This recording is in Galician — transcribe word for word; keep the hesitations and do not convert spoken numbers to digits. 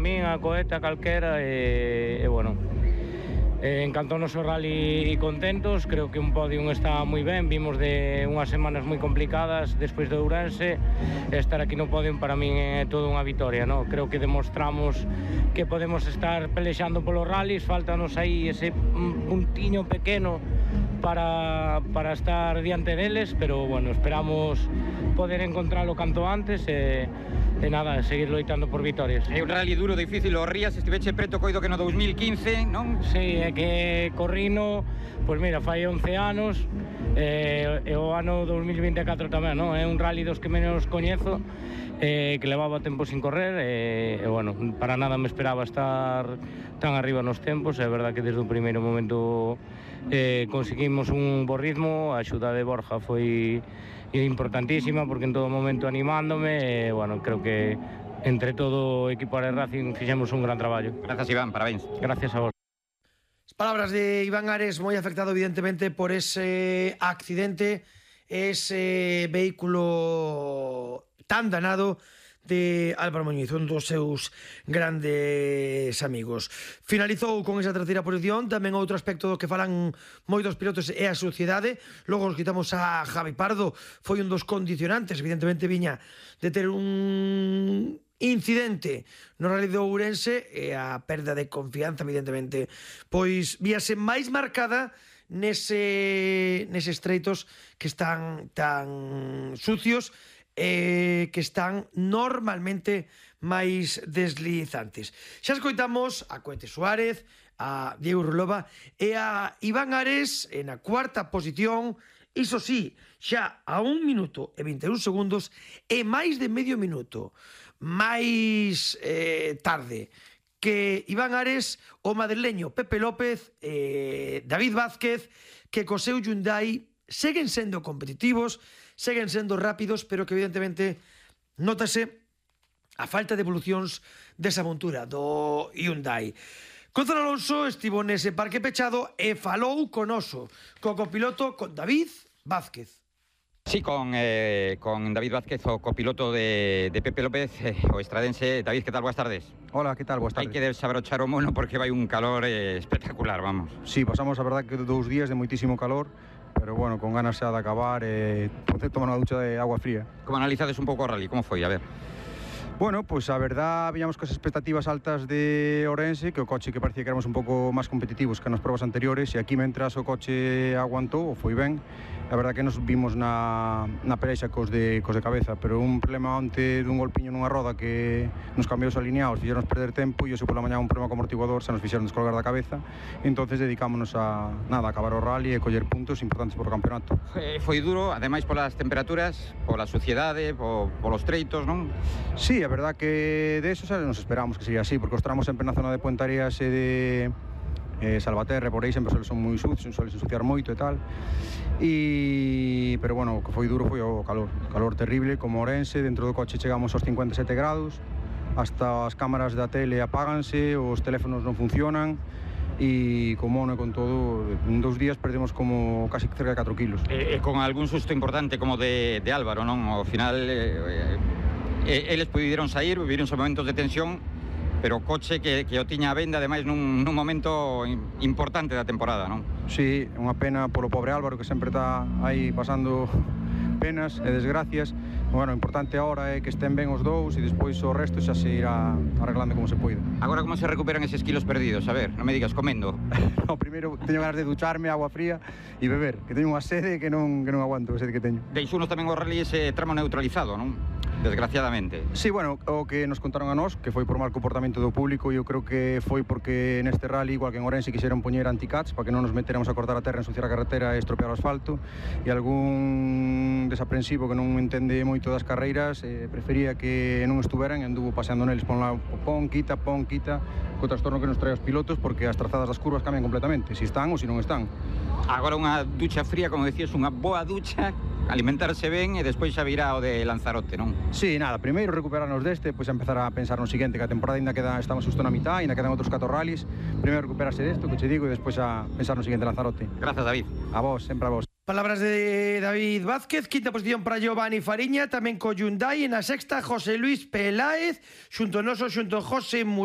min, a Coeta, calquera, e, e bueno, eh, encantounos o rally e contentos. Creo que un podium está moi ben, vimos de unhas semanas moi complicadas despois de Ourense, estar aquí no podium para min é toda unha vitoria, no? Creo que demostramos que podemos estar pelexando polos rallies, faltanos aí ese puntiño pequeno para, para estar diante deles, pero bueno, esperamos poder encontralo canto antes e, e nada, seguir loitando por vitorias. É un rally duro, difícil, o Rías estiveche preto coido que no dos mil quince, non? Sí, é que corrino, pois mira, fai once anos, e, e o ano dos mil vinte e catro tamén, non? É un rally dos que menos coñezo, eh, que levaba tempo sin correr, e, e bueno, para nada me esperaba estar tan arriba nos tempos. É verdad que desde o primeiro momento eh, conseguimos un bo ritmo, a axuda de Borja foi importantísima, porque en todo momento animándome, e bueno, creo que entre todo o equipo de Racing fixemos un gran traballo. Grazas, Iván, parabéns. Gracias a vos. Palabras de Iván Ares, moi afectado evidentemente por ese accidente, ese vehículo tan danado de Álvaro Muñiz, un dos seus grandes amigos. Finalizou con esa terceira posición. Tamén outro aspecto do que falan moitos pilotos é a suciedade. Logo nos quitamos a Javi Pardo, foi un dos condicionantes, evidentemente viña de ter un incidente no Rally de Ourense, e a perda de confianza evidentemente pois víase máis marcada nese, neses estreitos que están tan sucios e que están normalmente máis deslizantes. Xa escoitamos a Coete Suárez, a Diego Rulova e a Iván Ares en a cuarta posición, iso sí, xa a un minuto e vinte e un segundos e máis de medio minuto máis eh, tarde que Iván Ares, o madrileño Pepe López e David Vázquez, que co seu Hyundai seguen sendo competitivos, seguen sendo rápidos, pero que evidentemente notase a falta de evolucións desa montura do Hyundai. Gonzalo Alonso estivo nese parque pechado e falou con oso, co copiloto, con David Vázquez. Sí, con, eh, con David Vázquez, o copiloto de, de Pepe López, eh, o estradense. David, ¿qué tal? Buenas tardes. Hola, ¿qué tal? Buenas tardes. Hai que desabrochar o mono porque vai un calor eh, espectacular, vamos. Sí, pasamos a verdad que dous días de moitísimo calor, pero bueno, con ganas xa de acabar e eh, tomar unha ducha de agua fría. Como analizades un pouco o rally? Como foi? A ver. Bueno, pues a verdad habíamos cos expectativas altas de Ourense, que o coche que parecía que éramos un pouco máis competitivos que nas probas anteriores, e aquí mentras o coche aguantou, foi ben. A verdad que nos vimos na, na perexa cos de, cos de cabeza, pero un problema onte dun golpiño nunha roda que nos cambiou os alineados, fixeron perder tempo, e hoxe pola mañá un problema co amortiguador se nos fixeron descolgar da cabeza, e entonces dedicámonos a nada, a acabar o rally e coller puntos importantes por o campeonato. Foi, foi duro, ademais polas temperaturas, pola suciedade, po, polos treitos, non? Sí, a verdad que de eso xa nos esperamos que sería así, porque os tramos sempre na zona de Puentarías e de eh, Salvaterra, por aí sempre son moi sucios, suelen ensuciar moito e tal, e pero bueno, o que foi duro foi o calor, o calor terrible, como Ourense. Dentro do coche chegamos aos cincuenta e sete grados, hasta as cámaras da tele apáganse, os teléfonos non funcionan, e con mono e con todo, en dous días perdemos como casi cerca de catro kilos. E, e con algún susto importante como de, de Álvaro, non? Ao final eh, eh, eles puderon sair, viviron momentos de tensión, pero o coche que, que o tiña a venda, ademais nun, nun momento importante da temporada, non? Sí, unha pena polo pobre Álvaro, que sempre está aí pasando penas e desgracias. Bueno, o importante agora é que estén ben os dous, e despois o resto xa se irá arreglando como se poida. Agora como se recuperan eses kilos perdidos? A ver, non me digas comendo. No, primeiro teño ganas de ducharme, agua fría e beber, que teño unha sede que non, que non aguanto, a sede que teño. Deixounos tamén o rally ese tramo neutralizado, non? Desgraciadamente. Sí, bueno, o que nos contaron a nós, que foi por mal comportamento do público, e eu creo que foi porque neste rally, igual que en Ourense, quixeron poñer anticats para que non nos meteramos a cortar a terra, ensuciar a carretera e estropear o asfalto, e algún desaprensivo que non entende moito das carreiras eh, prefería que non estuveran e anduvo paseando neles pon, la, pon, quita, pon, quita, co trastorno que nos trae os pilotos, porque as trazadas das curvas cambian completamente, se están ou se non están. Agora unha ducha fría, como decías, unha boa ducha, alimentarse ben e despois xa virá o de Lanzarote, non? Sí, nada, primeiro recuperarnos deste, pois empezar a pensar no seguinte, que a temporada ainda queda, estamos xusto na mitad, ainda quedan outros catro rallies. Primeiro recuperarse desto, que che digo, e despois a pensar no seguinte Lanzarote. Grazas, David. A vos, sempre a vos. Palabras de David Vázquez. Quinta posición para Giovanni Fariña, tamén co Hyundai. En a sexta, José Luis Peláez, xunto noso, xunto José Murado.